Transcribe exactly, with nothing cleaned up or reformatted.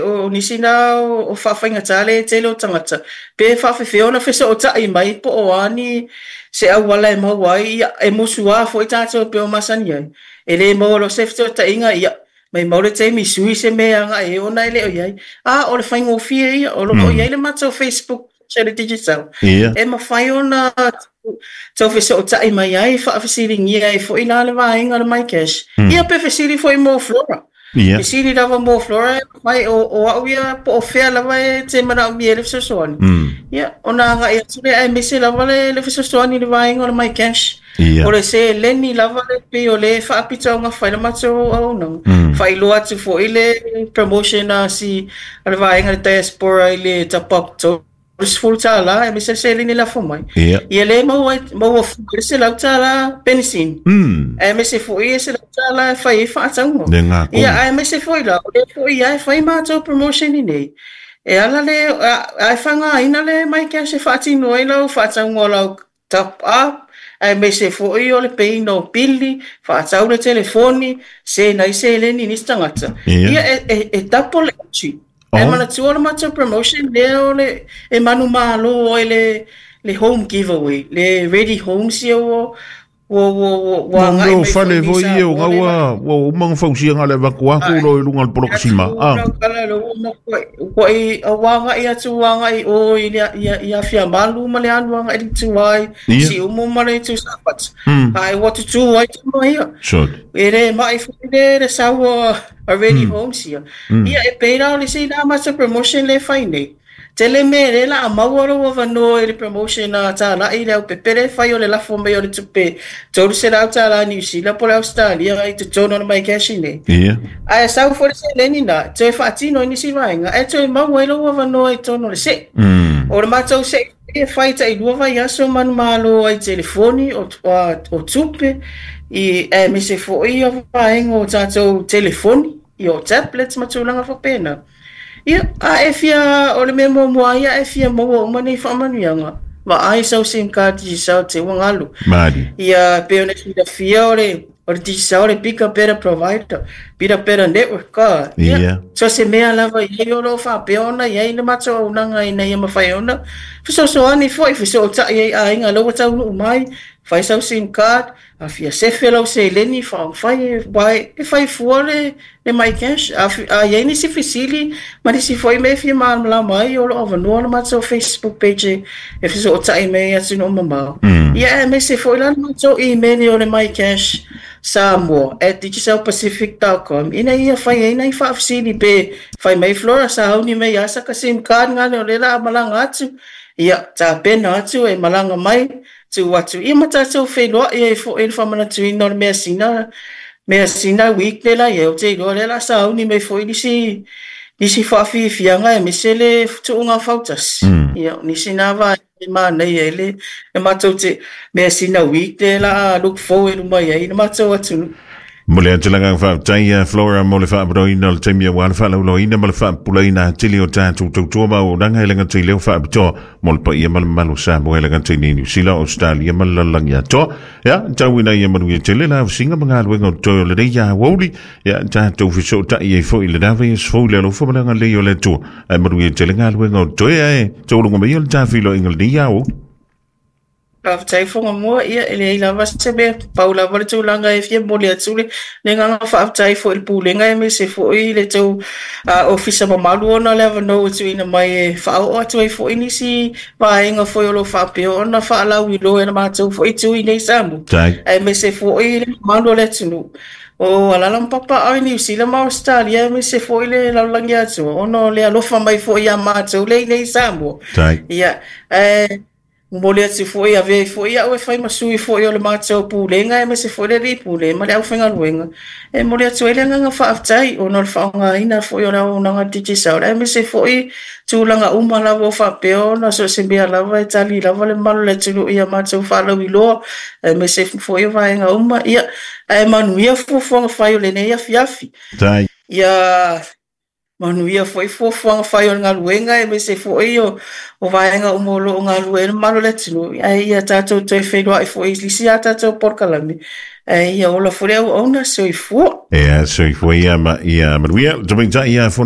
O nisi na o faafaigata le tele o tagata pe faafefea ona fesootai mai po o a ni se auala e maua ai. Ia, e musuā foi tatou e pei o masani ai, e lē maua loa se fesootaiga, ia maimau le taimi sui se mea agai ai ona e le o i ai. A o le faigofie ia o loo i ai le matou Facebook o le Digicel e mafai ona tau fesootai mai ai, faafesiligia ai foi la le vaega o le MyCash. Ia, pe fesili foi mo Flora. Fesili lava mo Flora mai o, o au ia po o fea lava e te manaomia le fesoasoani. Ia, ona agai atu lea, aemaise lava le, le fesoasoani i le vaega o le MyCash. O le seleni lava le pei o le faapitoaugafa i le matou auaunaga. Faailoa atu foi le promotion a si a le vaega le diaspora i le top up sefulu tala, aemaise le seleni lafo mai. Ia, le maua maua fua le selau tala penisini. Aemaise foi e selau tala e fai ai faatauga. Ia, aemaise foi la, o le foi ia e fai matou promotion i nei. E ala le a e faaaogaina le MyCash e faatino ai lau faatauga o lau top up, aemaise foi o le payina o pili, faatau le telefoni, sena ai seleni i nisi tagata. Ia, e, e, e double entry. E manatua le matou promotion lea o le e manumalo ai le le home giveaway, le ready homes ia ua ua ua ua agai mai fale foi ia o gaua ua uma ona fausia le avatu atu lo i luga o le poloka sima. Ah. Ua i ua agai atu ua agai o i le i Afiamalu ma le alu agai i le itu ai Siumu ma le itu Safata. Ae ua tutū ai tama ia. E le mai foi le le sau a ready homes ia. Ia, e pei la o le isi la matou promotion le fai nei. Tele mea le la a maua lou avanoa i le promotion a tālai le au pepele fai o le lafo mai o le tupe tolu selau tālā Niu Sila po le Australia i totonu o le MyCash nei. Ia. Ae sau foi le seleni na, toe faatino ai nisi vaega, ae toe maua ai lou avanoa i totonu o le se'i. O le matou se'i e fai tailua vaiaso manumalo ai telefoni o, o tupe, i aemaise foi ia vaega o tatou telefoni, i o tablets ma tulaga faapena. Ia, a e fia, o le mea muamua ia e fia maua uma nei faamanuiaga, vaai sau SIM card Digicel te ua galu. Mali. Ia, pei ona silafia o le o le Digicel le bigger better provider, bigger better network ka. Ia. So se mea lava i ai o lo o faapea ona i ai le matou auaunaga ina ia mafai ona fesoasoani foi fesootai ai aiga lau ua taunuu mai, fai sau SIM card, a fia sefe lau seleni faaofai e e fai fua le le MyCash. A, a i ai nisi fesili ma nisi foi mea e fia malamalama ai, o lo o avanoa le matou Facebook page e fesootai mai ai atunuu mamao. Ia, aemaise foi la le matou email o le mycash samoa at digicelpacific dot com ina ia fai ai nai faafesili pe fai mai Flora sauni mai ia saka SIM card ngale o le la malaga atu. Ia, tapena atu e malaga mai tu atu. Ia, ma tatou feiloai ai foi le faamanatuina o le measina measina week le la ia o te iloa lea la sauni mai foi nisi nisi faafiafiaga aemaise le tuuga fautasi. Ia, nisi na vaega e manaia ai le le matou te measina week le la look forward mai ai le matou atunuu. Mo le atulaga faafetai Flora mo le faaparoina o le taimi aua le faalauloaina ma le faapupulaina atili o tatou tautua ma auaunaga e le gata i leo faapitoa mo le paia ma le mamalu o Samoa e le gata i nei Niu Sila, Australia ma le lalolagi atoa. Ia, tauina ia manuia tele la ausiga ma galuega o totoe o lenei aoauli. Ia, tatou fesootai ai foi i lena vaiaso fou i le alofa ma le agalelei o le Atua. Ae manuia tele galuega o totoe ae tauluga mai o le tafiloaiga lenei aoauli. Faafetai Fogamua, ia e leai lava se mea, pau lava le tulaga e fia momoli atu le le agaga faafetai foi i le Pulega aemaise foi le tou uh, ofisa mamalu ona le avanoa ua tuuina mai e faaoo atu ai foi nisi vaega foi o lo o faapea ona faalauiloa e le matou foi itu i nei Samoa. Aemaise foi le mamalu o le atunuu o alaala ma papaaao i Niu Sila ma Ausetalia aemaise foi le lalolagi atoa ona o le alofa mai foi ia matou le i nei Samoa. Ia, ae momoli atu foi avea ai foi au e fai ma sui foi o le matou Pulega aemaise foi le alii pule ma le aufaigaluega e momoli atu ai le agaga faafetai ona o le faaaogaina foi o le auaunaga Digicel aemaise foi tulaga uma lava o faapea ona so o se mea lava e tali lava le mamalu o le atunuu ia matou faalauiloa aemaise foi o vaega uma. Ia, ae manuia fuafuaga fai o lenei afiafi. Ia manuia foi fuafuaga fai o le galuega aemaise foi o, o vaega uma o lo o galulue ai le mamalu o le atunuu. Ae ia tatou toe feiloai foi i isi a tatou polokalame. Ae ia ola foi le auauna, soifua. Ia, soifua ia ma ia manuia. Tamaitai ia fono.